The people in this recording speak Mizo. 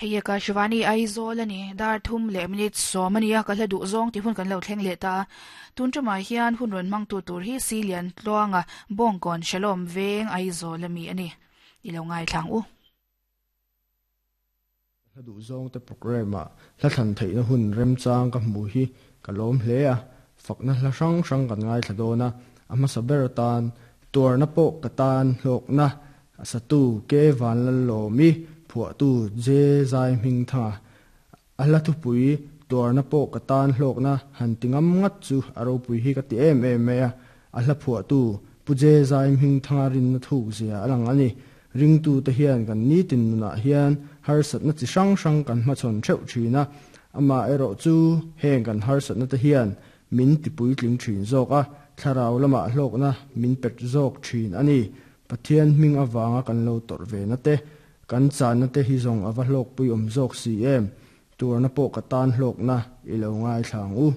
Hei Akashvani Aizawl a ni, dar thum leh minute sawm a nia, ka hla duh zawng tih hun kan lo thleng leh ta a. Tun tumah hian hun rawn hmangtu tur hi Silian Tluanga Bawngkawn Shalom Veng Aizawl a mi a ni. I lo ngaithlang u. Ka hla duh zawng te programme ah hla thlan theihna hun remchang ka hmu hi ka lawm hle a, fakna hla hrang hrang kan ngaithla dawn a, a hmasa ber atan tuarna pawh ka tan hlawkna a satu Ke Vanlallawmi phuahtu Je Zai Hmingthanga a hla thupui tuarna pawh ka tan hlawkna han ti ngam ngat chu a ropui hi ka ti em em mai a, a hla phuahtu Pu Je Zai Hmingthanga rinna thuk zia a lang a ni. Ringtute hian kan nitin nunah hian harsatna chi hrang hrang kan hmachhawn theuh thin a, amaherawh chu heng kan harsatna te hian min ti puitling thin zawk a, thlarau lamah hlawkna min pet zawk thin a ni. Pathian hming avanga kan lo tawrh ve na te, kan channa te hi zawng a va hlawkpui awm zawk si em? Tuarna pawh ka tan hlawkna i lo ngaithla ang u.